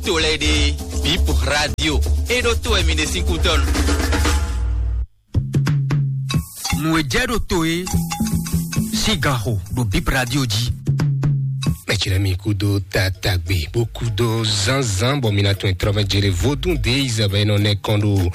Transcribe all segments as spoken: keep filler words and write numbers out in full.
To lɛ́ɛ ɖe, Bip Radio. E ɖo to wɛ mi ɖe sín kútɔ́nu. Nǔ e jɛ ɖo to e sín ganxo ɖo Bip Radio jí. Mɛtsi lɛ mi kúdo tatagbe bó kúdo zánzán bɔ mi na tún trɔ mɛ jere vodún de izabɛ nɔ nɛ kɔn ɖo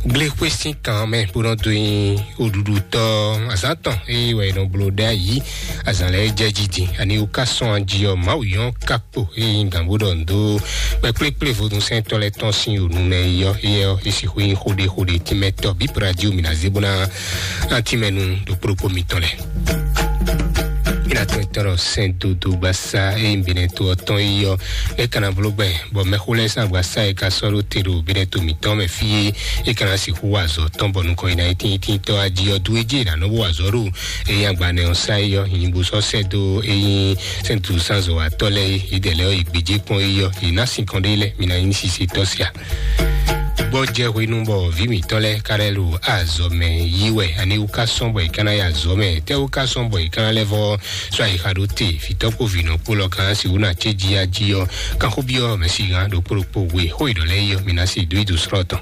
gblexwe sín kan mɛ bó nɔ dó nyi oɖuɖutɔ azán tɔn eye wɛ nɔ bló ɖe ayi azán lɛ jɛ jiji ani wò ká sɔn aji ɔ Mawu yɔn ká kpo eye nyi gǎn bó ɖɔ ndo kpɛkplekple vodúnsɛntɔ lɛ tɔn sín yònú nɛ yɔ eyɛ ɔ esi xwe nyi xóɖe xóɖe tínmɛtɔ bí radio mi na zé bó ná tínmɛnu ɖo kplokpó mitɔn lɛ. Mina tɔn tɔn sɛn dodo gbasa eye binɛ to ɔtɔn yi yɔ e kana blo gbɛ bɔ mɛxó lɛ sá gbasa e ka sɔ ɖo te ɖo binɛ to mitɔn mɛ fie e kana sixú wa azɔ tɔn bɔ nukɔn yi na yi tín tín tɔ aji ɔ du eje na nɔ bo wa azɔ ɖo eye agbanɛ ɔ sá yi yɔ nyibo sɔ sɛ do eyin sɛntu sanzɔ wa tɔ lɛ yi dɛ lɛ yi gbedze kpɔn yi yɔ yi na sin kɔn ɖe lɛ mina yin sisi tɔ sia. Gbɔjɛ hwenu bɔ vi mitɔn lɛ ka lɛ lo azɔ mɛ yi wɛ ani wu ka sɔn bɔ yi kana ya azɔ mɛ tɛ wu ka sɔn bɔ yi kana lɛ vɔ sɔ ayi xa ɖo te fitɔ kpo vinɔ kpo lɔ kan si wu na tse ji aji yɔ kan xó bi yɔ mɛ si gan ɖo kpo ɖo kpo we xó yi ɖɔ lɛ yi yɔ mina si do yi do srɔ tɔn.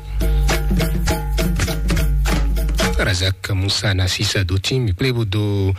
Razak Musa na sisa do tí mi kple bo do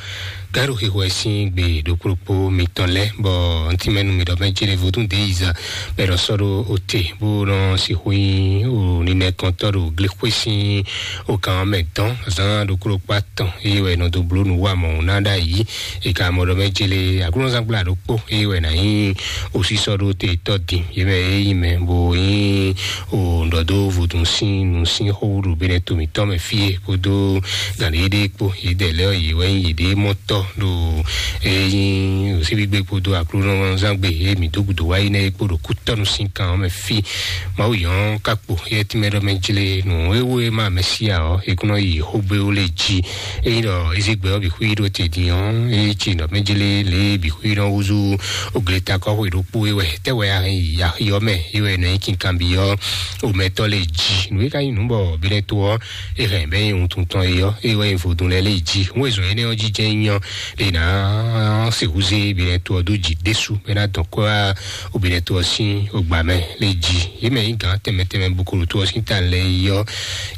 garo xixo ɛ sín gbe ɖokpóɖokpó mitɔn lɛ bɔ ntí mɛnu mi ɖɔ mɛ jere vodún de yiza bɛ ɖɔ sɔ ɖo ote bó nɔ sixú nyi o ninɛ kɔntɔ ɖo glexwe sín o kan mɛ dɔn zan ɖokpóɖokpó atɔn eye wɛ nɔ do bló nu wa mɔ na ɖa yi e ka mɔ ɖɔ mɛ jele aglɔnzangblá ɖokpó eye wɛ na nyi osisɔ ɖo te tɔ din ye mɛ e yi mɛ bo nyi o ɖɔ do vodún sín nu sín xó ɖo bɛnɛ to mitɔn mɛ fie kpódó gǎnɖé ɖé kpó yědɛɛ lɛ́ɛ ɔ́, yě wɛ nyí yěɖée mɔtɔ́ ɖo ényí òsínvígbé kpódó aklúnɔzángbé e mǐ dó gǔdo wá yi nɛ́ é kpó ɖo kútɔ́nú sín kan ɔ́ mɛ fí. Mawu yɔn ka kpo yɛ tínmɛ ɖɔ mɛ jlé nǔ e wú e ma Mɛsíya ɔ́, é kún nɔ yi xógbéwú lé jí. Ényí ɖɔ Ezégbé ɔ́ bǐ xwí ɖó te din ɔ́, é cí nɔ mɛ jlé lě bǐ xwí nɔ húzú ogleta kɔ́xwé ɖokpó é wɛ. Tɛ́ wɛ a hɛn yi axi ɔ́ mɛ é wɛ nɔ nyí kinkanbyɔ́ omɛtɔ́ lé jí. Nǔ e ka nyí nǔ bɔ Bɛnɛto ɔ́ e hɛn bɛ́ nyi wuntun tɔn é ɔ́, é wɛ nyi vodún lɛ́ɛ lé jí. Nú e zɔn énɛ́ ɔ́ jí jɛ́n nyí ɔ́, lě ná se húzé Bɛnɛto ɔ́ dó jǐ ɖésú, bɔ é ná dɔn kɔ́ wá Bɛnɛto ɔ́ sín ogbǎ mɛ lé jí. Yě mɛ nyí gǎn tɛnmɛ tɛnmɛ bo ko ɖo to ɔ́ sín ta lɛ́ɛ yi ɔ́,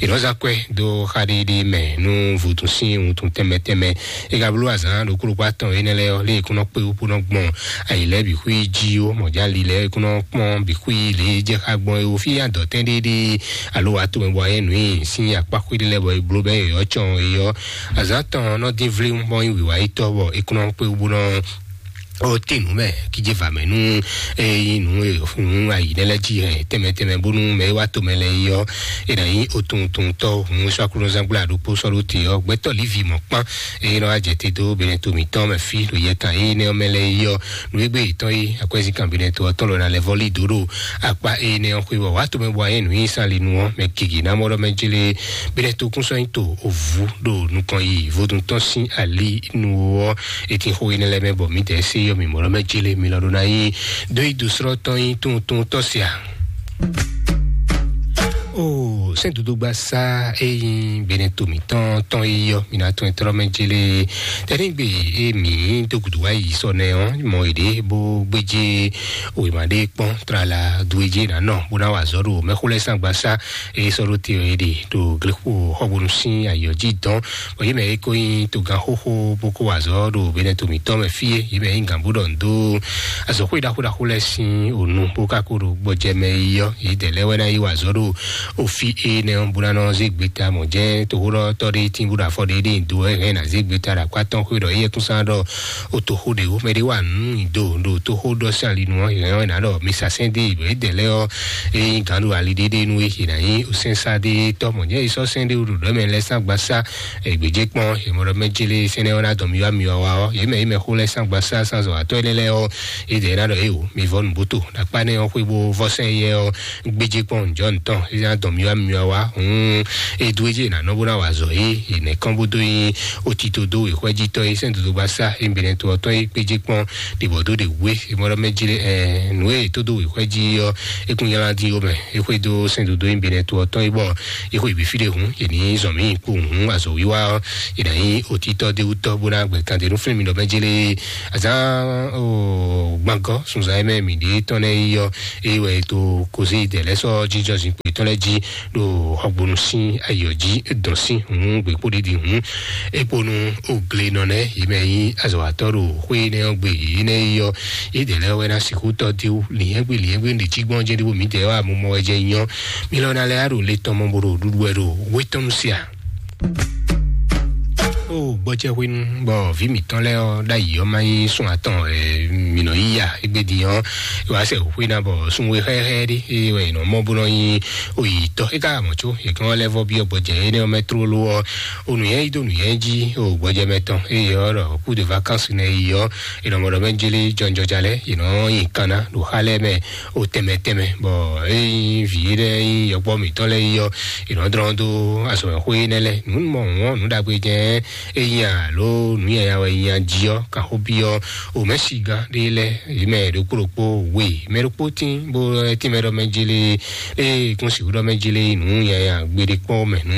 è nɔ́ zán kwɛ́ dó xá ɖéɖé mɛ nú vodún sín wuntun tɛnmɛ tɛnmɛ. É ka bló azǎn ɖokpó ɖokpó atɔn énɛ́ lɛ́ɛ ɔ́, lě e kún nɔ kpé wú bó nɔ gbɔn ayi lɛ́ɛ bǐ xwí jí ó, mɔ̌jálí lɛ́ɛ e kún nɔ kpɔ́n bǐ xwí lě e jɛ xá gbɔn é ó, fí adɔ̌tɛn ɖéɖé alo wǎ tomɛ bɔ ayɛ nǔ nyi sín akpá xwé ɖé lɛ́ɛ bɔ è bló bɛ́ yɔ̌yɔ́ cɔn é ɔ́, azǎn tɔn nɔ dín vléwún bɔ nyí wǐwáyítɔ́ bɔ é kún nɔ kpé wú bó nɔ ó te nǔ mɛ kíjé va mɛ nú é nyí nǔ e nú ayi nɛ́ lɛ́ɛ jí hɛn tɛnmɛ tɛnmɛ bónú mɛ e wá tomɛ lɛ́ɛ yi ɔ́, è nǎ nyí otuntɔntɔ́ hǔn sɔ́ aklúnɔzángbla ɖokpó sɔ́ ɖó te ɔ́, gbɛtɔ́ Livi mɔ̌kpán. Eye nɔ wá jɛ te dó Bɛnɛto mǐtɔn mɛ fí ɖo yɛ kan eye nɛ́ ɔ́ mɛ lɛ́ɛ yi ɔ́, nǔ e gbé yětɔn é akwɛ́zínkan Bɛnɛto ɔ́ tɔn lɔ ná lɛ́ vɔ́ lí dǒ ɖo akpá eye nɛ́ ɔ́ xwé bɔ wǎ tomɛ bɔ ayɛ nǔ nyi sán li nu ɔ́, mɛ gěgé ná mɔ ɖɔ mɛ jlé Bɛnɛto kún sɔ́ nyi to ovǔ ɖo nukɔn yi vodún tɔn sín ali nu ɔ́, e tin xó énɛ́ lɛ́ɛ mɛ bɔ mǐdɛɛ sé yɔ mǐ mɔ ɖɔ mɛ jlé mi lɔ ɖó ná nyí dó yi dǒ srɔ́ tɔn nyí tuntun tɔ́ sia. O sɛn dodogba sa eyi bene to mitɔn tɔn yi yɔ mina tɔn tɔrɔ mɛ jele tɛnigbe e mi do gudu wa yi sɔ nɛ ɔ mɔ ede bo gbeje wema de kpɔn trala dueje na nɔ bo na wa zɔ do mɛxo lɛ san gbasa e sɔ do te ede do glexo xɔbonu sin ayɔ ji dɔn bɔ yi mɛ e ko yin to gan xoxo bo ko wa zɔ do bene to mitɔn mɛ fie yi mɛ yi gan bo dɔ ndo azɔ xo yi da xo da xo lɛ sin onu bo ka ko do gbɔjɛ mɛ yi yɔ yi dɛ lɛ wɛ na yi wa zɔ do ofi e nɛ ɔ bo na nɔ ze gbeta mɔ jɛ to xo dɔ tɔ de tin bo do afɔ de de do ɛ hɛn na ze gbeta da kpa tɔn xo dɔ yi yɛ kun san dɔ o to xo de o mɛ de wa nu do do to xo dɔ sali nu ɔ hɛn ɔ na dɔ mi sa sɛn de yi bɔ yi dɛ lɛ ɔ e yin gan do ali de de nu e yi na yi o sɛn sa de tɔ mɔ jɛ yi sɔ sɛn de o do dɔ mɛ lɛ san gba sa egbedze kpɔn emɔ dɔ mɛ jele sɛnɛ ɔ na dɔ mi wa mi wa wa ɔ ye mɛ yi mɛ xo lɛ san gba sa san zɔ atɔ yi lɛ lɛ ɔ e dɛ na dɔ e o mi vɔ nu bo to na kpa nɛ ɔ xwe bo vɔ sɛn yɛ ɔ gbedze kpɔn jɔ ntɔn e na dɔ mi wa mi mi wá wá hun e dó ejé nà nɔ bó ná wà zɔ yé e nɛ kán bó dó nyi o tito dó wěxwɛ́jítɔ́ e sɛ́n dodo gbá sá e nbɛnɛ to ɔtɔ́ e kpéjé kpɔ́n ɖibɔ dó ɖe wé e mɔ ɖɔ mɛ jí ɛ nǔ e tó dó wěxwɛ́jí ɔ́ e kún nyala dín ó mɛ e xwé dó sɛ́n dodo e nbɛnɛ to ɔtɔ́ e bɔ e xwé bǐ fí ɖe hun e ní zɔn mí kpó hun azɔ wíwá ɔ́ e nà nyi o títɔ́ dé wútɔ́ bó ná gbɛ kan dé nú fún mi ɖɔ mɛ jí lé azán o gbàngɔ sunzan e mɛ mi ɖe tɔn lɛ yi ɔ́ e wɛ to kozi dɛ lɛ sɔ jíjɔ zinkpo tɔn lɛ jí ɖo xɔgbonu sín ayɔ jí dɔn sín hun gbekpo ɖiɖi hun ekponu ogle nɔ nɛ yi mɛ yi azɔwatɔ ɖo xwé nɛ ɔ́ gbe yi nɛ yi ɔ́ yi dɛ lɛ wɛ na sixú tɔ diwu liɛngbe liɛngbe ɖi jí gbɔn jɛ ɖiwo mi dɛ wa mo mɔ wɛ jɛ nyɔ mi lɔ na lɛ aɖo le tɔn mɔ bo ɖo ɖuɖu wɛ ɖo wetɔnu sia. O gbɔjɛ hwenu bɔ vi mǐtɔn lɛ ɔ́ ɖ'ayǐ ɔ́ ma nyí sún atɔn ɛ mǐ nɔ yí ya égbé din ɔ́ wá sɛ xwé ná bɔ sunwe xɛxɛ ɖé eye wɛ nɔ mɔ bó nɔ nyi oyitɔ é ka mɔ có yě kán lɛ́ vɔ byɔ́ gbɔjɛ énɛ́ ɔ́ mɛ tlóló ɔ́ o nǔnyɛ yí dó nǔnyɛ jí o gbɔjɛ mɛ tɔn eye ɔ́ ɖɔ kú de vacances nɛ yi ɔ́ è nɔ mɔ ɖɔ mɛ jélé jɔnjɔja lɛ è nɔ nyi kanna ɖo xá lɛ́ɛ mɛ o tɛmɛ tɛmɛ bɔ ényí vǐ ɖé nyí yɔkpɔ mǐtɔn lɛ́ɛ yi ɔ́ è nɔ dlɔ́n dó azɔ̌mɛxwé énɛ́ lɛ́ɛ nǔ mɔ wɔn nǔ ɖagbe jɛ ényí alo nǔ yaya wɛ nya jí ɔ́ kan xó byɔ́ o mɛ̌sigán ɖé lɛ́ɛ yě mɛ ɖokpó ɖokpó we mɛ ɖokpó tín bó tínmɛ ɖɔ mɛ jélé ée kún sixú ɖɔ mɛ jélé nǔ yaya gbeɖé kpɔ́n mɛ nú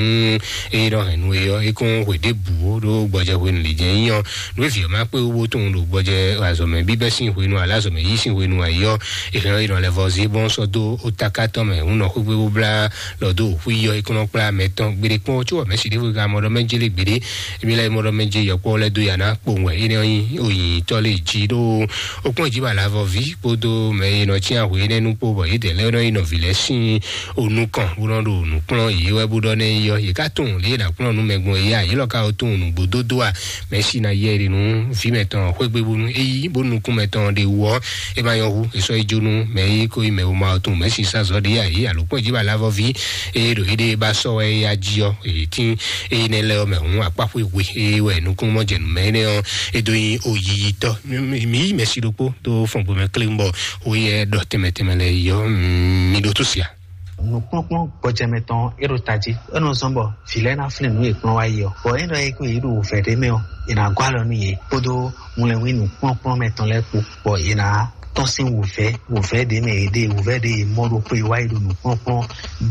eye ɖɔ hɛn nú e ɔ́ é kún hwe ɖěbǔ ɖó gbɔjɛ hwenu lě jɛ nyí ɔ́ nǔ e vǐ ɔ́ ma kpé wú bó tunwun ɖo gbɔjɛ azɔ̌mɛ bíbɛ́ sín hwenu alá azɔ̌mɛ yí sín hwenu ayí ɔ́ è hɛn ɔ́ è nɔ lɛ vɔ zé bɔn sɔ́ dó ó taká tɔn mɛ hǔn nɔ xwégbé bó blá lɔ dó xwí ɔ́ é kún nɔ kplá mɛ tɔn gbeɖé kpɔ́n có wɔ mɛ si ɖěvo ka mɔ ɖɔ mɛ jélé gbeɖé émi lɛ́ mɔ ɖɔ mɛ jé yɔkpɔ́ lɛ́ dó ya ná kpowun wɛ énɛ́ ɔ́ nyí oyǐnyítɔ́ lé jí ɖó ó kpɔ́n jí ba lavɔví kpódó mɛ e nɔ cyán hwe énɛ́ nu kpó bɔ yědɛɛ lɛ́ɛ nɔ yi nɔvǐ lɛ́ɛ sín onú kɔn bó nɔ ɖo nǔ kplɔ́n yě wɛ bó ɖɔ nɛ́ yi ɔ́ yě ká tunwun lě e è nǎ kplɔ́n nǔ mɛ gbɔn é ǎ yě lɔ ka ó tunwun nǔgbó dó dó a mɛ sí ná yɛ ɖi nú vǐ mɛtɔn xwégbé bónú é yí bó nukún mɛtɔn ɖe wú ɔ́ é ma nyɔ́ hú é sɔ́ yi jó nú mɛ e ko yi mɛ wo ma ɔ́ tunwun mɛ sí sá zɔ́ ɖě ǎ yě alo kpɔ́n jí ba lavɔví eye ɖo éɖée ba sɔ́ wɛ é yá jí ɔ́ èyí tín eye nɛ́ lɛ́ ɔ́ mɛ hǔn akpáxwé hwe eye wɛ nukúnmɔjɛnǔmɛ énɛ́ ɔ́ é dó nyí oyiyitɔ́. Mi yí mɛ sí ɖokpó dó fɔn gbomɛ kléwún bɔ oyɛ ɖɔ tɛnmɛ tɛnmɛ lɛ yi ɔ́ mi ɖó tó sia. Nǔkplɔ́nkplɔ́n gbɔjɛmɛ tɔn é ɖo tají é nɔ zɔ́n bɔ vǐ lɛ́ɛ ná flín nǔ e kplɔ́n wá yi ɔ́ bɔ é ɖɔ é kó yě ɖo wǔvɛ́ ɖé mɛ ɔ́ è nǎ gɔ́ alɔ nú yě kpódó wlɛnwínu kplɔ́nkplɔ́n mɛ tɔn lɛ́ɛ kpó bɔ è nǎ tɔ́n sín wǔvɛ́ wǔvɛ́ ɖě mɛ è ɖe wǔvɛ́ ɖě è mɔ ɖo xwe wá yi ɖo nǔkplɔ́nkplɔ́n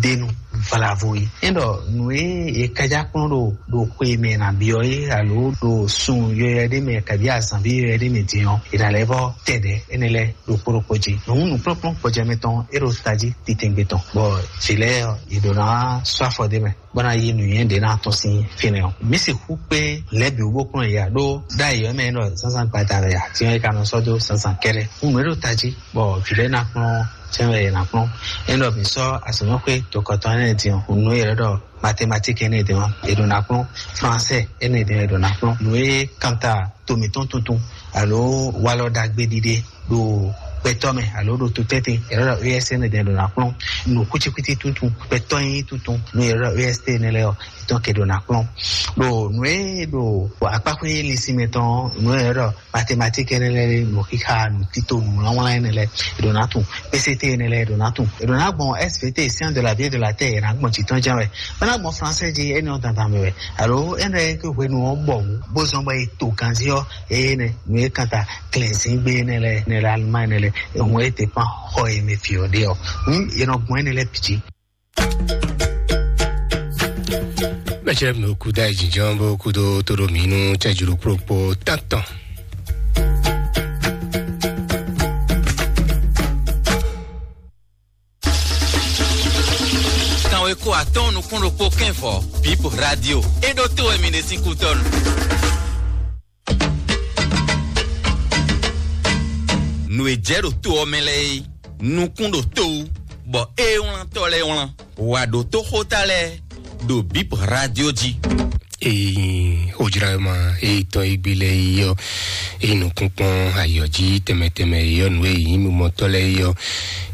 ɖé nu vlavo yi. É ɖɔ nǔ e è kájá kplɔ́n ɖo ɖo xwe mɛ è nǎ byɔ́ é alo ɖo sun yɔyɔ ɖé mɛ kabi azǎnví yɔyɔ ɖé mɛ din ɔ́ è nǎ lɛ́ vɔ tɛ ɖɛ̌ énɛ́ lɛ́ɛ ɖokpó ɖokpó jí. Nǔ nǔkplɔ́nkplɔ́n gbɔjɛmɛ tɔn é ɖo tají titɛngbé tɔn bɔ vǐ lɛ́ɛ ɔ́ yě ɖǒ ná sɔ́ afɔ ɖé mɛ bó ná yí nǔnywɛ́ ɖě ná tɔ́n sín fínɛ́ ɔ́. Mǐ sixú kpé lɛ̌ bǐ wú bó kplɔ́n yě ǎ ɖó ɖ'ayǐ ɔ́ mɛ é nɔ zǎnzǎn gbada wɛ ǎ, din ɔ́ é ka nɔ sɔ́ dó zǎnzǎn kɛ́ɖɛ́. Hǔn nǔ e ɖo tají bɔ vǐ lɛ́ɛ ná kplɔ́n jɛ́n wɛ è nǎ kplɔ́n. É ɖɔ mǐ sɔ́ azɔ̌mɛxwé tokɔtɔn énɛ́ din ɔ́, nǔ e è ɖɔ mathématique énɛ́ din ɔ́, è ɖǒ ná kplɔ́n, français énɛ́ din ɔ́, è ɖǒ ná kplɔ́n. Nǔ e kanta to mǐtɔn tuntun alo walɔ ɖagbe ɖiɖe ɖo gbɛtɔ́ mɛ alo ɖo tutɛ́ntin è nɔ ɖɔ E S N ɖɛ ɖo ná kplɔ́n nǔ kwítíkwítí tuntun gbɛtɔ́ nyí tuntun nú è nɔ ɖɔ E S T nɛ lɛ́ɛ ɔ́, etɔn ke ɖo ná kplɔ́n ɖo nǔ e ɖo akpáxwé linsin mɛ tɔn nǔ e nɔ ɖɔ mathématique nɛ lɛ́ɛ nǔ xixa nǔ tito nǔ wlánwlán nɛ lɛ́ɛ è ɖo ná tun P C T nɛ lɛ́ɛ è ɖo ná tun è ɖo ná gbɔn S V T science de la vie de la terre è ná gbɔn jǐ tɔn jɛ́n wɛ. Bó ná gbɔn français jí énɛ́ ɔ́ dandan mɛ wɛ alo énɛ́ ke hwenu ɔ́ bɔ wǔ bó zɔn bɔ è to ganzí ɔ́ eye nɛ nǔ e kanta klɛ̌nzíngbe énɛ́ lɛ́ɛ nɛ lɛ Allemagne nɛ lɛ ehun e dépend xɔ e mɛ fi ɔ́ ɖe ɔ́, hǔn è nɔ gbɔn énɛ́ lɛ́ɛ bǐ jí. Mɛtsɛ mi kú dá ìjìnjɔn bó kú dó tó ɖo mí nú cɛjúrú kúròkpó tántɔn. Kanwe ko atɔn nukún ɖokpó kɛnvɔ Bip Radio. E ɖo to wɛ mi ɖe sín kútɔnu. Nǔ e jɛ ɖo to ɔ́ mɛ lɛ́ɛ é, nukún ɖo to wú, bɔ ée wlántɔ́ lɛ́ɛ wlán. Wǎ ɖó tó xóta lɛ́ɛ ɖo Bip Radio jí. Eyin ojlama eyi tɔn egbe lɛ yi yɔ, eyi nukun kpɔn ayɔ ji tɛmɛ tɛmɛ yi yɔ, nu eyi mumɔtɔ lɛ yi yɔ,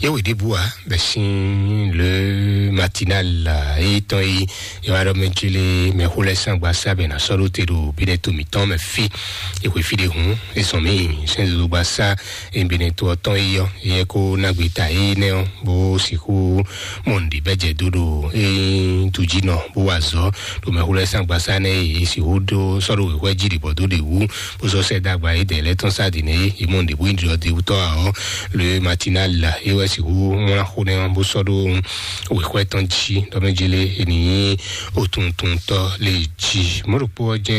yɛwɛ ɖebu wa bɛ sin le matinal la eyi tɔn yi yɔ aɖɔ mɛ jele mɛ xo lɛ san gba sa bɛ na sɔ ɖo te ɖo bi ɖe to mitɔn mɛ fi. Ekwe fi ɖe hun ezɔn mi sɛn zozo gba sa eyi bene to ɔtɔn yi yɔ yɛ ko nagbe ta yi nɛ ɔ, bó sixú mɔ nǔɖé bɛ jɛ dó ɖo eyi tu jí nɔ bó wa zɔ ɖo mɛ xo lɛ san gba sa nɛ yi sixú ɖo sɔ ɖo wěwé jí ɖibɔ dó ɖe wú bó sɔ sɛ dagba yi dɛ lɛ tɔn sa di nɛ yi mɔ nǔɖé bó yi ɖɔ de wútɔ a ɔ le matinal la yi wɛ sixú ŋlá xo nɛ bó sɔ ɖo wěwé tɔn jí ɖɔ mɛ jele eni yi otuntun tɔ le jí mɔ ɖokpó ɔ jɛ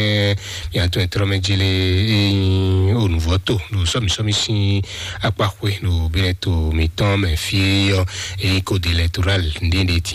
miatɔn e trɔ mɛ jele eyi onuvɔ to ɖo sɔmi sɔmi sin akpaxwe ɖo bɛnɛ to mitɔn mɛ fie yɔ eyi code électoral nɖe nɖe ti